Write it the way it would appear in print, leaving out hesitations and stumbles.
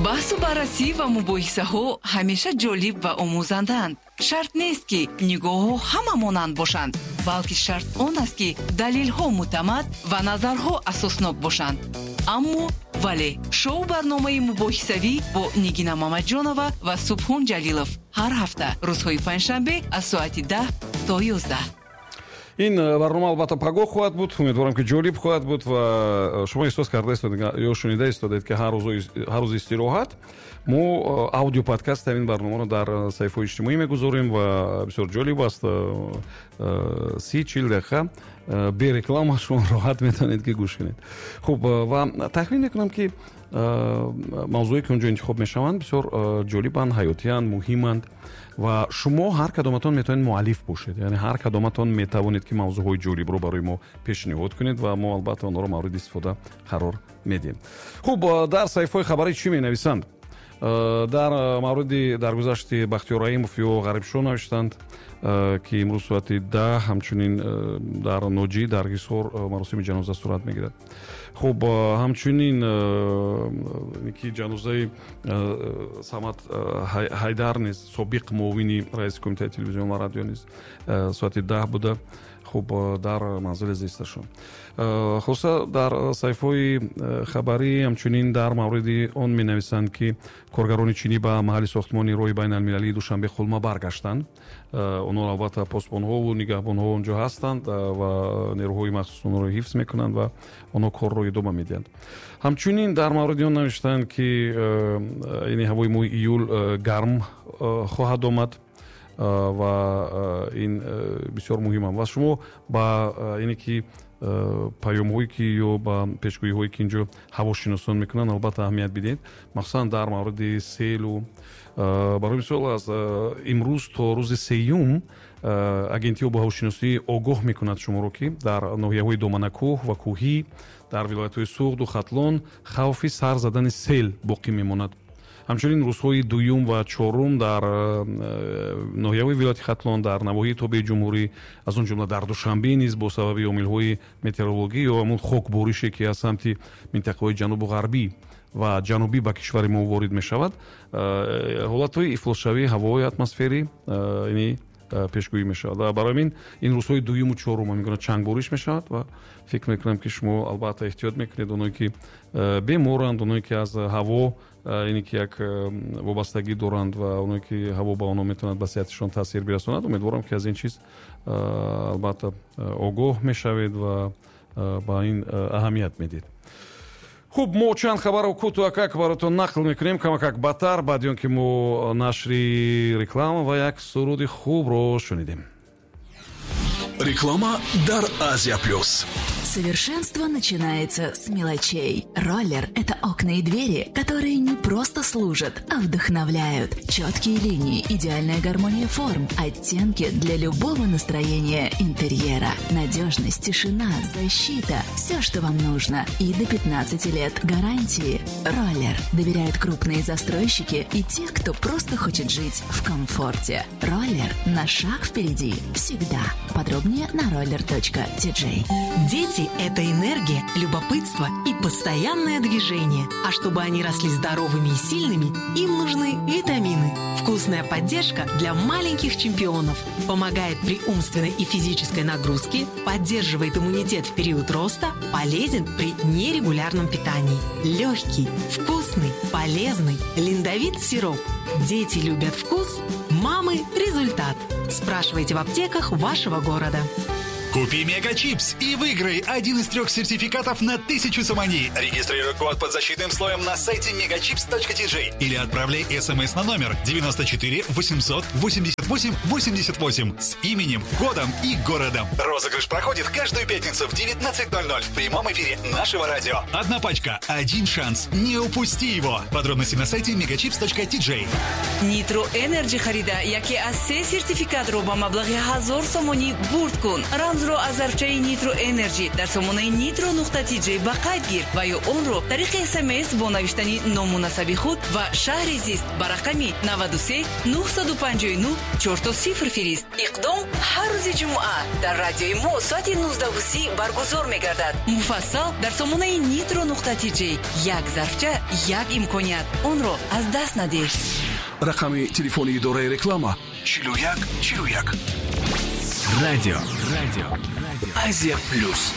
Баҳсу баррасӣ ва мубоҳисаҳо ҳамеша ҷолиб ва омӯзандаанд. Шарт нест, ки нигоҳҳо ҳама монанд бошанд, балки шарт он аст, ки далелҳо мӯътамад ва назарҳо асоснок бошанд. Аммо вале шоу барномаи мубоҳисавӣ бо Нигина Мамаҷонова ва Субҳон Ҷалилов ҳар ҳафта рӯзҳои панҷшанбе аз соати 10 то 11. Ин барнома албатта пагоҳ хоҳад буд. Умедворам, ки ҷолиб хоҳад буд ва шумо эҳсос карда истодед ё шунида истодед, ки ҳар рӯзи истироҳат мо аудиоподкаст ҳамин барномаро дар саҳифаҳои иҷтимоӣ мегузорем ва бисёр ҷолиб аст. 30-40 дақиқа бе реклама шумо роҳат метавонед, ки гӯш кунед. Хуб, ва тахмин мекунам, ки мавзӯе, ки он ҷо интихоб мешаванд, бисёр ҷолибанд, ҳаётиянд, муҳиманд ва шумо ҳар кадоматон метавонед муаллиф бошед, яъне ҳар кадоматон метавонед, ки мавзӯъҳои ҷолибро барои мо пешниҳод кунед ва мо албатта онҳоро мавриди истифода қарор медиҳем. Хуб, дар саҳифаҳои хабарӣ чӣ менависанд? Дар мавриди даргузашти Бахтиёр Раимов ё Ғарибшо навиштанд, ки имрӯз соати 10 ҳамчунин дар Ноҷӣ, дар Ҳисор маросими ҷаноза сурат мегирад. Хуб, ҳамчунин ки ҷанозаи Самад Ҳайдар низ, собиқ муовини раиси Кумитаи телевизион ва радио низ, соати 10 буда, хуб, дар манзили зисташон. Хулоса, дар саҳифаҳои хабарӣ ҳамчунин дар мавриди он менависанд, ки коргарони чинӣ ба маҳалли сохтмони роҳи байналмилалии Душанбе Хулма баргаштанд. Онҳо албатта посбонҳову нигаҳбонҳо он ҷо ҳастанд ва нерӯҳои махсус онҳоро ҳифз мекунанд ва онҳо корро идома медиҳанд. Ҳамчунин дар мавриди он навиштанд, ки ини ҳавои моҳи июл гарм хоҳад омад ва ин бисёр муҳимам ва шумо ба ине ки паёмҳое, ки ё ба пешгӯиҳое, ки инҷо ҳавошиносон мекунанд, албатта аҳамият бидиҳед, махсусан дар мавриди селу. Барои мисол, аз имрӯз то рӯзи сеюм агентии обу ҳавошиносӣ огоҳ мекунад шуморо, ки дар ноҳияҳои доманакӯҳ ва кӯҳӣ, дар вилоятҳои Суғду Хатлон хавфи сар задани сел боқӣ мемонад. Ҳамчунин рӯзҳои дуюм ва чорум дар ноҳияҳои вилояти Хатлон, дар навоҳии тобеи ҷумҳурӣ, аз он ҷумла дар Душанбе низ бо сабаби омилҳои метеорологӣ ё ҳамун хокборише, ки аз самти минтақаҳои ҷанубу ғарбӣ ва ҷанубӣ ба кишвари мо ворид мешавад, ҳолатҳои ифлосшавии ҳавои атмосферӣ ини пешгӯӣ мешавад. Ва барои ҳамин ин рӯзҳои дуюму чорум ҳамин гуна чангбориш мешавад ва фикр мекунам, ки шумо албатта эҳтиёт мекунед, оное ки беморанд, оное ки аз ҳаво ине ки як вобастагӣ доранд ва оное ки ҳаво ба онҳо метавонад ба сиҳатишон таъсир бирасонад. Умедворам, ки аз ин чиз албатта огоҳ мешавед ва ба ин аҳамият медиҳед. Хуб, мо чанд хабарро кӯтоҳакак баротон нақл мекунем, камакак баъдтар, баъди он ки мо нашри реклама ва як суруди хубро шунидем. Реклама дар Азия Плюс. Совершенство начинается с мелочей. Роллер – это окна и двери, которые не просто служат, а вдохновляют. Четкие линии, идеальная гармония форм, оттенки для любого настроения интерьера. Надежность, тишина, защита – все, что вам нужно. И до 15 лет гарантии. Роллер. Доверяют крупные застройщики и те, кто просто хочет жить в комфорте. Роллер на шаг впереди. Всегда. Подробнее на roller.tj. Дети – это энергия, любопытство и постоянное движение. А чтобы они росли здоровыми и сильными, им нужны витамины. Вкусная поддержка для маленьких чемпионов. Помогает при умственной и физической нагрузке, поддерживает иммунитет в период роста, полезен при нерегулярном питании. Легкий, вкусный, полезный Линдовит сироп. Дети любят вкус, мамы – результат. Спрашивайте в аптеках вашего города. Купи Мегачипс и выиграй один из трех сертификатов на 1000 сомони. Регистрируй код под защитным слоем на сайте megachips.tj или отправляй смс на номер 94 888 88 с именем, годом и городом. Розыгрыш проходит каждую пятницу в 19.00 в прямом эфире нашего радио. Одна пачка, один шанс. Не упусти его. Подробности на сайте megachips.tj. Нитро Энерджи харида, яке аз се сертификатро ба маблағи 1000 сомонӣ бурд кун. Рамзи Рӯзро аз зарфчаи Нитро Энерҷи дар сомонаи nitro.tj ба қайд гир ва ё онро тариқи СМС бо навиштани ному насаби худ ва шаҳри зист ба рақами 93 959 00 фирист. Иқдом ҳар рӯзи ҷумъа дар радиои мо соати 19:30 баргузор мегардад. Муфассал дар сомонаи nitro.tj. Як зарфча, як имконият. Онро аз даст надеҳ. Рақами телефони идораи реклама 41 41. Радио. Радио. Азия плюс.